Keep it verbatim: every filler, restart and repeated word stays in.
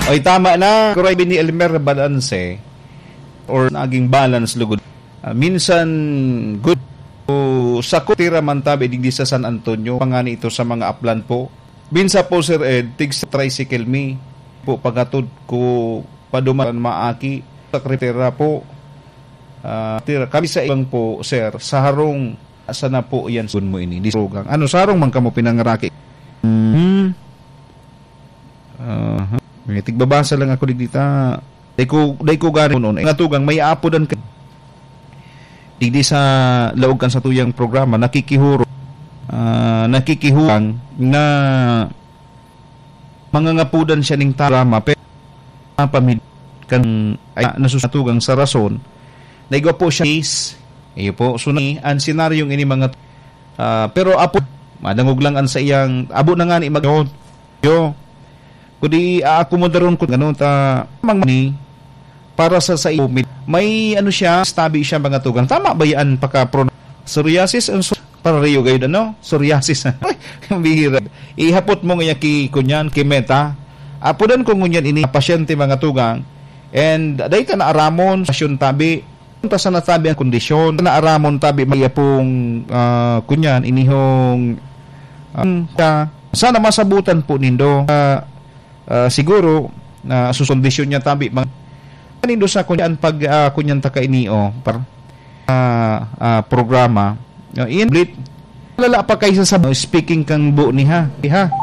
Oy, tama na. Kuray ni Elmer, balance or naging balance lugod. Ah, minsan good. O, sa kutira man tabi digdi sa San Antonio, pangani ito sa mga aplan po. Minsan po, Sir Ed, tig sa tricycle mi po, pagatod ko paduman maaki sa kretera po. Ah, tira kami sa ibang po, sir, sa harong, sana po yan sun mo ini. Di sugang. Ano, sarong man kamo pinangaraki? Hmm. Aha. May tigbabasa lang ako digdi ta. Dai ko, dai ko gani kunon. Nga tugang, may aapodan ka. Digdi sa laog kan satuyang programa, nakikihuro. Ah, nakikihurang na mangangapodan siya ning programa, pero mga pamilya kan ay nasusatugang sa rason. Naigwa po siya is, iyo po, so na, ang senaryong ini mga, ah, pero apo, madangog lang an sa iyang, abo na nga ni mag-, yo. Kundi aakomodaron ko, ano, ta, mang ni, para sa, sa iyo, may, may ano siya, stabi siya mga tugang. Tama ba yan, pagka pro-, psoriasis, ang su-, para riyo gayud, ano? Psoriasis. Ay, ang bihira. Ihapot mo nga ki, kunyan, ki Meta. Apodan ko ngunyan ini, pasyente mga tugang. And, dahil ta naaramon, pasyon tabi, ta sa natabi ang kondisyon, naaramon tabi, may apong, ah, kunyan, inihong, ah, ka, sana masabutan po nindo. Ah, ah, siguro, na susundisyon niya tabi, mga nindo sa kunyan pag, ah, kunyan ta kainio, par-, ah, ah, programa. Ah, in blit, lala pa kaysa sa speaking kang bu ni ha, ha?